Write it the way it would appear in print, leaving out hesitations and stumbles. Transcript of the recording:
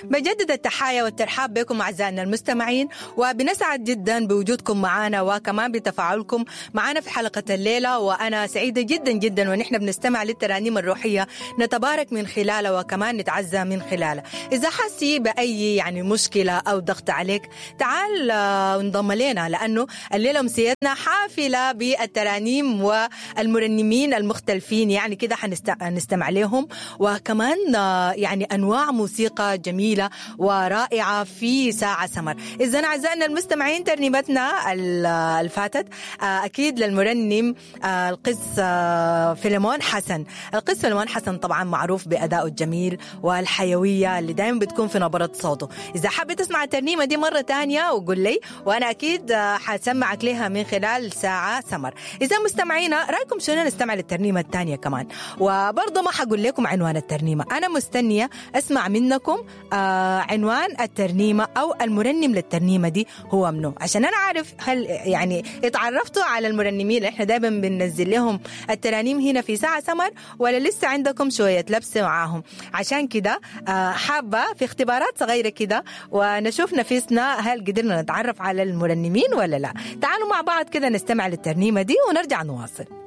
بجدد التحايا والترحاب بكم أعزائنا المستمعين، وبنسعد جدا بوجودكم معنا وكمان بتفاعلكم معنا في حلقة الليلة. وأنا سعيدة جدا جدا ونحن بنستمع للترانيم الروحية، نتبارك من خلالها وكمان نتعزى من خلالها. إذا حسي بأي يعني مشكلة أو ضغط عليك تعال انضم لنا، لأنه الليلة أمسيتنا حافلة بالترانيم والمرنمين المختلفين، يعني كده حنستمع لهم، وكمان يعني أنواع موسيقى جميلة ورائعة في ساعة سمر. إذا أعزائنا المستمعين ترنيمتنا الفاتت أكيد للمرنم القس فيلمون حسن. القس فيلمون حسن طبعا معروف بأدائه الجميل والحيوية اللي دائما بتكون في نبرة صوته. إذا حابة تسمع الترنيمة دي مرة تانية وقول لي، وأنا أكيد حسمعك لها من خلال ساعة سمر. إذا مستمعينا رأيكم شنو نستمع للترنيمة التانية كمان؟ وبرضه ما حقول لكم عنوان الترنيمة، أنا مستنية أسمع منكم عنوان الترنيمة أو المرنم للترنيمة دي هو منو، عشان أنا عارف هل يعني اتعرفتوا على المرنمين اللي احنا دايما بننزل لهم الترانيم هنا في ساعة سمر، ولا لسه عندكم شوية لبس معاهم. عشان كده حابة في اختبارات صغيرة كده ونشوف نفسنا هل قدرنا نتعرف على المرنمين ولا لا. تعالوا مع بعض كده نستمع للترنيمة دي ونرجع نواصل.